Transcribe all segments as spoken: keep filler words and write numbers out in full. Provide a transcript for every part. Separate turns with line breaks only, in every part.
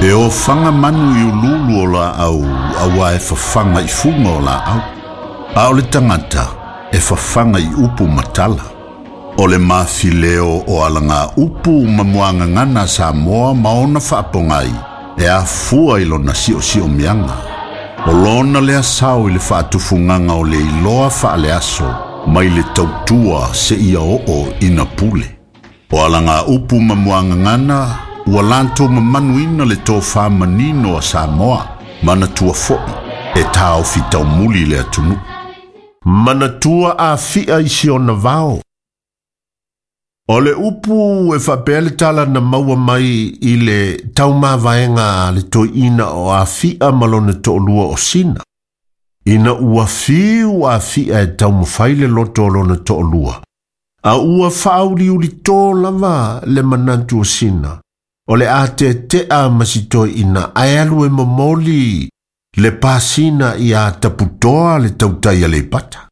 E ofaga manu i ululu o laau auā e fafaga i fuga o laau. A o le tagata e fafaga i upu ma tala. O le mafileo o alaga upu ma muagagana a Samoa ma ona faapogai e afua i lona siosiomiaga. O lona lea sao i le faatufugaga o le iloa faaleaso mai le tautua seia oo ina pule. O alaga upu ma muagagana ua latou mamanuina le tofā manino a Samoa, manatua fo'i e taofi taumuli le atunuu. Manatua Afi'a i si ona vao. O le upu e faapea le tala na maua mai i le taumavaega a le toeaina o Afi'a ma lona toalua o Sina. Ina ua fiu Afi'a e taumafai le loto o lona toalua, a ua faauliulito lava le manatu o Sina. O le a tetea ma si toeaina ae alu e momoli le pasina ia taputoa le tautai a Aleipata.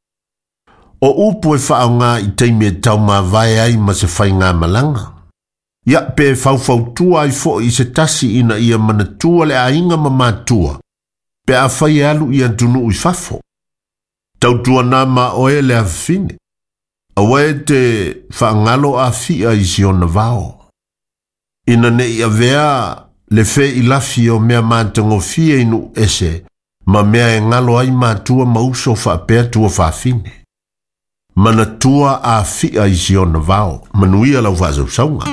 O upu e faaaoga i taimi e taumavae ai ma se faigamalaga. Ia pe faufautua ai fo'i i se tasi ina ia manatua le aiga ma matua, pe afai e alu i atunuu i fafo. Tautuana ma oe le afafine, aua e te faagalo Afi'a i si ona vao. Ina ne'i avea le feilafi o mea matagofie i nuu ese, ma mea e galo ai matua ma uso faapea tuafafine. Manatua Afi'a i si ona vao, manuia lau faasausauga.